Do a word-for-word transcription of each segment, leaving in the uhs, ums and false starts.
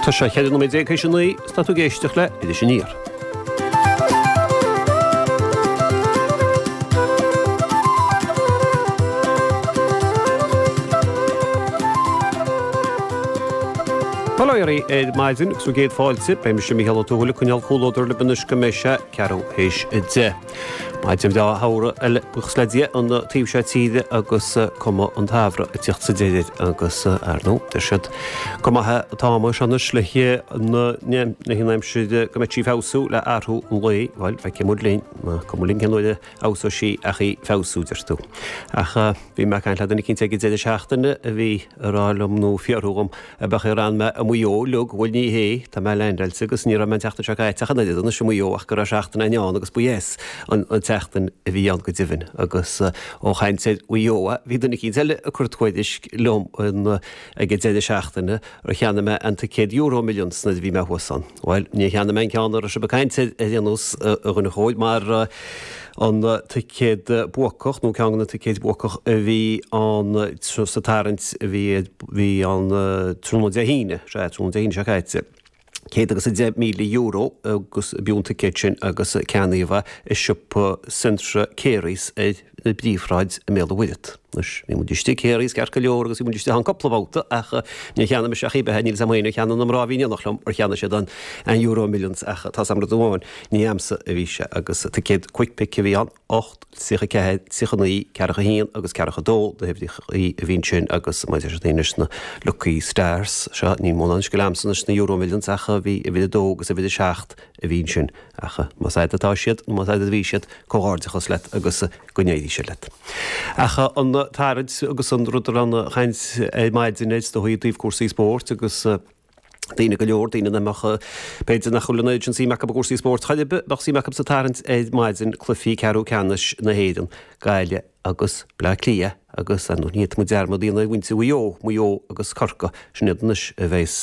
Tá sé cheithre nóiméad déag théis a naoi is tá tú ag éisteacht le Iris Aniar. Bail ó Dhia oraibh ar maidin agus bhur gcéad fáilte, beidh mise Mícheál Ó Tuathail ag coinneáil comhluadar libh anois go mbeidh sé ceathrú théis a deich. Maidin bhreá shamhraidh eile, buíochas le Dia, an taobh seo tíre agus cuma an tsamhraidh ag tíocht sa deireadh agus, ar ndóigh, deir siad gur maith an t-am é seo anois le an aimsir go mbeidh sí ag feabhsú le athrú an lae, bhuel, feicfidh muid linn, cuma linn cén uair a fheabhsóidh sí ach í feabhsú, deir tú. Ach bhí mé ag caint le duine eicínt ag an deireadh seachtaine a bhí ag rá liom nó ag fiafraí dhom ab ea ar fhan mé i Maigh Eo uilig, bhuel ní hé, tá mé leaindeáilte agus ní raibh mé an tseachtain seo caite ach an oiread anois i Maigh Eo ach go raibh seachtain ann agus ba dheas an tseachtain a bhí ann go deimhin agus ó chaint ar Mhaigh Eo bhí duine eicínt eile ag cur tuairisc liom ag an deireadh seachtaine ar cheannaigh mé an ticéad Euro Millions nuair a bhí mé thuas ann. Bhuel, níor cheannaigh mé an ceann a raibh sibh ag caint air ar aon nós, a dhuine chóir, mar an ticéad buacach nó ceann de na ticéid buacach a bhí ann sa tarraingt a bhí bhí ann tráthnóna Dé hAoine, sea, tráthnóna Dé hAoine seo caite. céad agus a deich míle euro agus b'fhiú an ticéad sin agus ceannaíodh é i siopa Centra Carey's ar na bPríomhshráid i mBéal an Mhuirthead. Anois, bhí muid istigh Carey's ceart go leor agus bhí muid istigh ann cúpla babhta ach níor cheannaigh mise ach í beithe, níl 'fhios a'm féin ar cheannaigh na mná a bhí in éineacht liom ar cheannaigh siad an an Euro Millions ach tá's a'm rud amháin, ní a'msa a bhí sé agus ticéad Quick Pick a bhí ann, ocht, tríocha ceathair, tríocha naoi, ceathracha haon agus ceathracha dó na huimhreachaí a bhí ansin agus maidir leis anois na Lucky Stars seo, níl mórán scil a'msa anois sna Euro Millions ach bhí uimhir a dó agus uimhir a seacht a bhí ansin ach más a'd atá siad nó más a'd a bhí siad, comhghairdeachas leat agus go n-éirí sé leat. Ach an tarraingt agus an rud a raibh ana chaint ar maidin air is dóigh i dtaobh cúrsaí spóirt agus daoine go leor, daoine nach mbeadh, b'fhéidir nach bhfuil an oiread sin suim acu i gcúrsaí spóirt chor ar bith, bheadh suim acu sa tarraingt ar maidin, cluichí ceathrú ceannais na hÉireann, Gaillimh agus Bleá Cliath agus, ar ndóigh, ní fhéadfaidh muid dearmad a dhéanamh ar mhuintir Mhaigh Eo, Maigh Eo agus Corcaigh, sin iad anois a bheas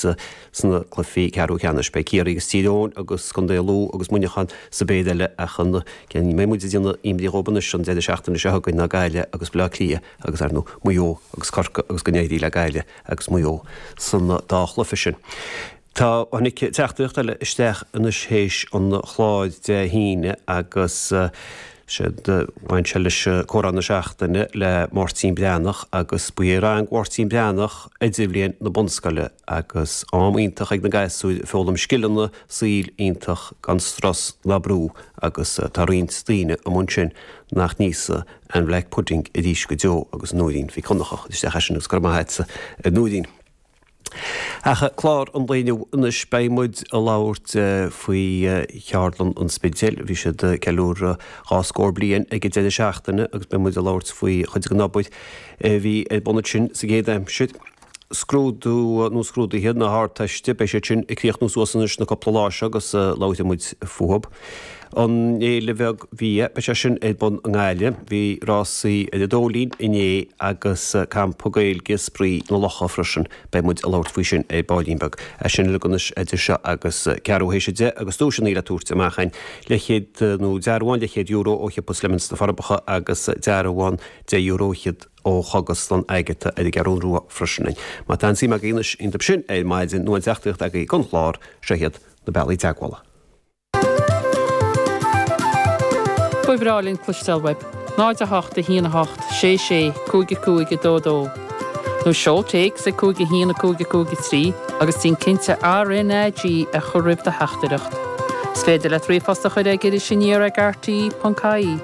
sna cluichí ceathrú ceannais. Beidh Ciarraí agus Tír Eoghain agus Contae Lú agus Muineachán sa bpéire eile ach an ceann a mbeidh muid ag déanamh imní dhóibh anois an deireadh seachtaine seo chugainn ná Gaillimh agus Bleá Cliath agus, ar ndóigh, Maigh Eo agus Corcaigh agus go n-éirí le Gaillimh agus Maigh Eo san dá chluiche sin. Tá, tháinig teachtaireacht eile isteach anois théis an chláir Dé hAoine agus siad, bhain sé leis Comhrá na Seachtaine le Máirtín Breathnach agus ba é rang Mháirtín Breathnach Idirbhliain na bunscoile agus am iontach ag na gasúir ag foghlaim scileanna saoil iontach gan strus ná brú agus tá roinnt daoine amuigh ansin nach n-íosfaidh an black pudding arís go deo agus Nóirín Mhic Dhonncha a chuir isteach é sin agus go raibh maith agatsa a Nóirín. Ach clár an lae inniu anois beidh muid ag labhairt faoi Cheardlann an Spidéil. Bhí siad ag ceiliúradh dhá scór bliain ag an deireadh seachtaine agus beidh muid ag labhairt faoi chuid den obair a bhí ar bun ansin sa gcéad aimsir. Scrúdú nó scrúduithe na hArdteiste, beidh siad sin ag críochnú suas anois na cúpla lá seo agus labharfaidh muid fúthu. An Fhéile Bheag Bhia, beidh sé sin ar bun i nGaillimh. Bhí rásaí ar an Dóilín inné agus Campa Gaeilge Spraoi na Locha freisin. Beidh muid ag labhairt faoi sin ar baillín beag. É sin uilig anois idir seo agus ceathrú théis a deich agus duaiseanna le tabhairt amach againn. Leathchéad nó dearbhán leathchéad euro ó shiopa Slemons na Forbacha agus dearbhán deich euro fhichead ó Chógaslann Agatha ar an gCeathrú Rua freisin. Má tá aon suim agaibh anois iontu sin ar maidin nó aon teachtaireacht agaibh don chlár, seo iad na bealaí teagmhála. Ba bhreá linn cloisteáil uaibh. náid a hocht a haon a hocht sé sé cúig a cúig a dó dó. Nó seol téacs ag cúig a haon a cúig a cúig a trí agus déan cinnte RnaG a chur roimh do theachtaireacht. Is féidir leat ríomhphost a chur ag Iris Aniar ag rte ponc ie.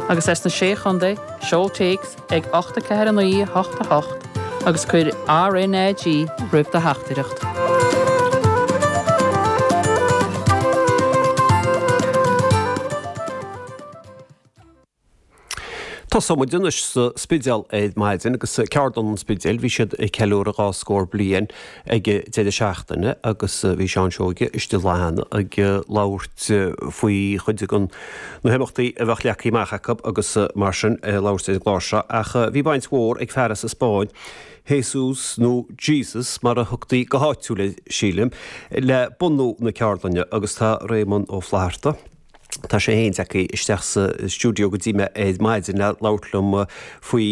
Agus as na Sé Chontae, seol téacs ag ocht a ceathair a naoi a hocht a hocht agus cuir RnaG roimh do theachtaireacht. Tosóidh muid anois sa Spidéal ar maidin agus Ceardlann an Spidéil, bhí siad ag ceiliúradh dhá scór bliain ag an deireadh seachtaine agus bhí Seán Seoige istigh an lá cheana ag labhairt faoi chuid de na himeachtaí a bheadh leagtha amach acu agus mar sin ag labhairt ar an gclár seo ach bhí baint mhór ag fear as an Spáinn, Jesus nó Jesus mar a thugtaí go háitiúil air sílim, le bunú na ceardlainne agus tá Réamonn Ó Flatharta, Tá sé féin tagtha isteach sa stiúideo go dtí mé ar maidin le labhairt liom faoi.